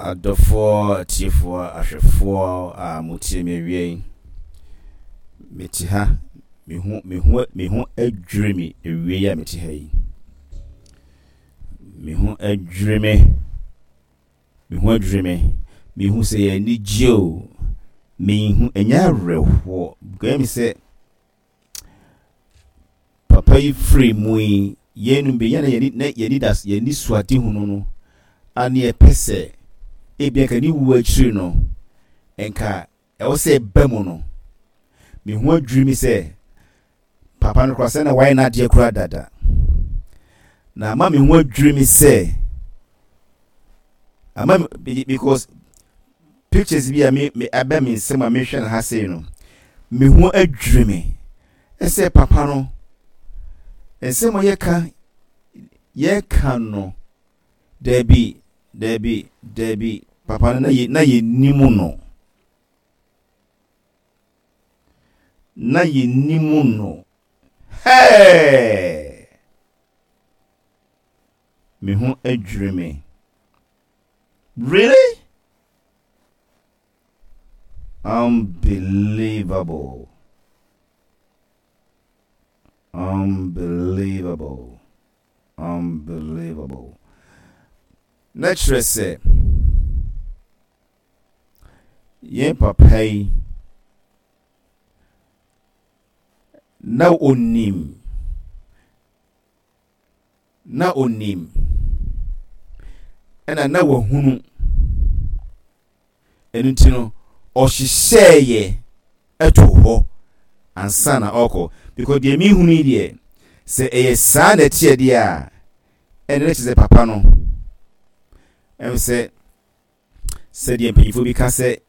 Adɔfoɔ, atiefoɔ, ahwɛfoɔ a motie me awia yi, mete ha, me ho, me ho, me ho adwiri me awia yi a mete ha yi. Me ho adwiri me, me ho adwiri me. Mehu sɛ yɛ anigye o, mehu, ɛnyɛ awerɛhoɔ. Because me sɛ, Papa yi firi mu yi, yɛn bi yɛn na yɛn yɛn das yɛn ani so adehunu no a ne yɛpɛ sɛ ebi nka ne wu akyiri no nka ɛwɔ sɛ ɛba mu no. Me ho adwiri mi sɛ papa no koraa sɛ na wayɛ n'adeɛ koraa dada. Na ama me ho adwiri mi sɛ ama because Pictures bi a me me aba me nsam a mehwɛ no ha sei no, me ho adwiri me sɛ papa no nsɛm a yɛka yɛka no daabi daabi daabi papa no na yɛ na yɛnim no na yɛnim no hɛɛ me ho adwiri me. Really? Unbelievable. Unbelievable. Unbelievable. Na kyerɛ sɛ yɛn papa yi na onim Na ɔnim, ɛna na wahunu. Ɛno nti no, ɔhyehyɛeɛ too hɔ ansa na ɔrekɔ. Because deɛ mehunu yi deɛ, sɛ ɛyɛ saa na ɛteɛ deɛ a, ɛnna na kyerɛ sɛ papa no, ɛm sɛ sɛdeɛ mpanyinfoɔ bi ka sɛ.